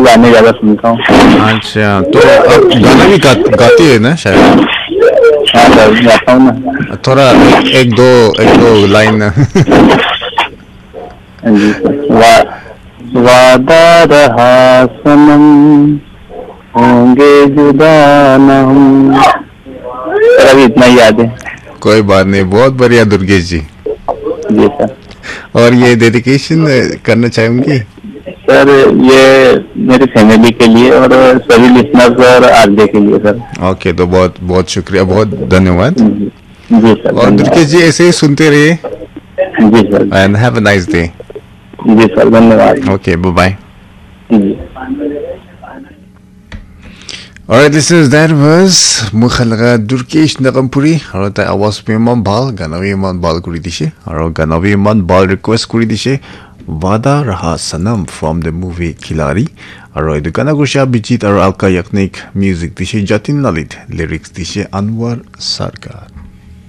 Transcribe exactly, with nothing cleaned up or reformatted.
गाने ज्यादा सुनता हूँ। अच्छा, तो आप गाना भी गा, गाते हैं ना शायद? हाँ सर, गाता हूँ ना। थोड़ा एक, एक दो, एक दो लाइन। हाँ जी सर। वा-, वादा रहा सनम, होंगे जुदा ना हम। सर, अभी इतना ही याद है। कोई बात नहीं, बहुत बढ़िया दुर्गेश जी। जी सर। और ये डेडिकेशन करना चाहेंगे? सर, ये मेरी फैमिली के लिए और सभी लिसनर्स और आरजे के लिए सर। ओके, तो बहुत बहुत शुक्रिया, बहुत धन्यवाद। जी, जी सर, और धन्यवाद। दुर्गेश जी, ऐसे ही सुनते रहिए। जी sir. And have a nice day. जी सर, धन्यवाद। Okay, bye bye. जी। Alright, listeners, that was Mukhalaga Durkesh Nagampuri. Aro tai awaz bi iman bhal, gana bi iman bhal kuri dishe. Aro gana bi iman bhal request kuri dishe. Wada Raha Sanam from the movie Khiladi. Aro etu gana kurishe Abhijit aro Alka Yagnik, music dishe Jatin Lalit, lyrics dishe Anwar Sarkar.